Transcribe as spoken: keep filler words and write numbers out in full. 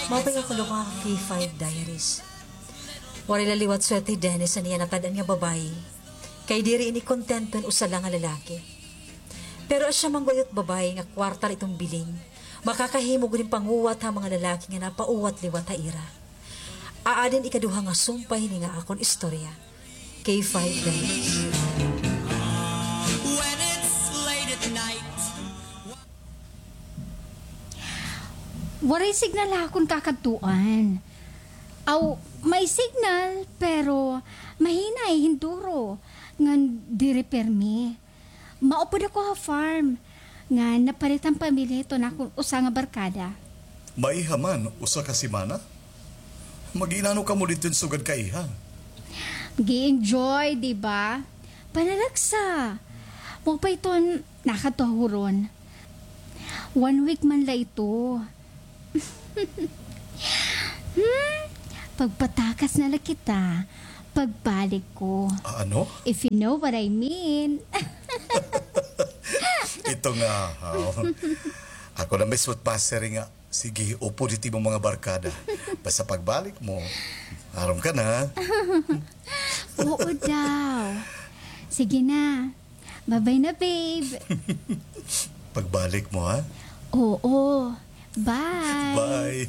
Maupay nga kulop, mga K five Diaries. Waray la liwat swerte hi Dennis han iya natad-an nga babaye. Kay diri ini kontento hin usa la nga lalaki. Pero asya man gud it babaye nga kwarta la iton bilin, makakahimo gud hin panguwat ha mga lalaki nga napauwat liwat ha ira. Aadi an ikaduha nga sumpay hini nga akon istorya. K five Diaries. Waray signal ha akon kakadtuan. Aw, may signal, pero mahinay, hin duro, ngan diri pirmi. Maupod ako ha farm, ngan napalit han pamilya hiton akon usa nga barkada. Maiha man, usa ka semana? Mag-iinano kamo didto hin sugad kaiha? Mag-i-enjoy, di ba? Panalagsa. Maupay iton nakadto ha huron. One week man la ito. Hmm? Pagpatakas na la kita pagbalik ko. Ah, ano? If you know what I mean. Ito nga, haw. Ako na mismo it masiri nga, sige, upod it imo mga barkada. Basta pagbalik mo, aram ka na. Oo daw. Sige na. Bye-bye na, babe. Pagbalik mo, ha? Oo. Bye. Bye.